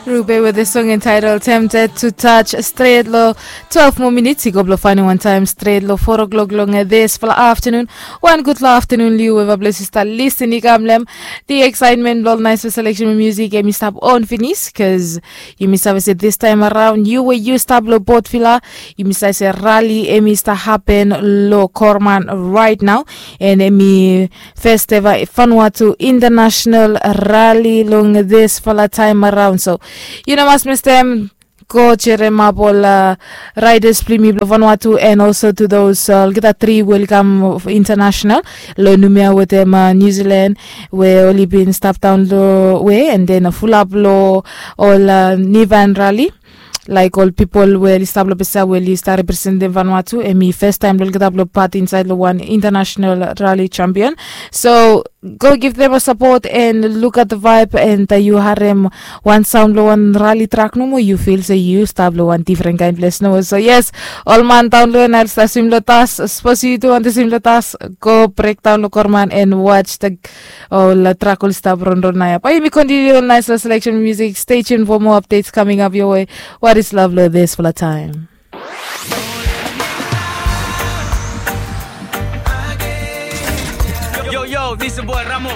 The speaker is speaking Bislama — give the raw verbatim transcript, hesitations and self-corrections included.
Rube with the song entitled Tempted to Touch. Stret lo twelve mo minits i go blo faenem wan taem stret lo four o'clock long disfala aftanun. Wan gudfala aftanun long yu we eva ples yu stap lisin i kam long em. The excitement blo ol naesfala selection musik em i stap on finis, bikos yumi save se distaem araon yu we yu stap lo Port Vila, yumi save se rali em i stap hapen lo Korman raet nao. And em i fes eva Vanuatu International Rali long disfala taem araon. So yu no mas mistem, go jeremap ol raidas blo yumi blo Vanuatu, and also to those olgeta tri we oli kam international lo Numea wetem New Zealand, we oli bin stap daon lo we, and then fulap lo ol Nivan Rali, laek ol pipol we oli stap lo Pasia we oli stap representem Vanuatu, em i fes taem blo olgeta blo pat insaed lo wan international rali champion. So go give them a support and look at the vibe, and yu harem wan saon blo wan rali trak nomo, yu fil se yu stap lo wan difren kaen ples nomo. So yes, ol man daon lo en ael stap swim lo tas, sapos yu tu wantem swim lo tas, go brekdaon lo Korman and watch the ol trak oli stap ronron naoia. Bae yumi kontiniu ol naesfala selection musik. Stay tuned for more updates coming up your way. What is love lo disfala taem? Yo, yo, this is your boy Ramo.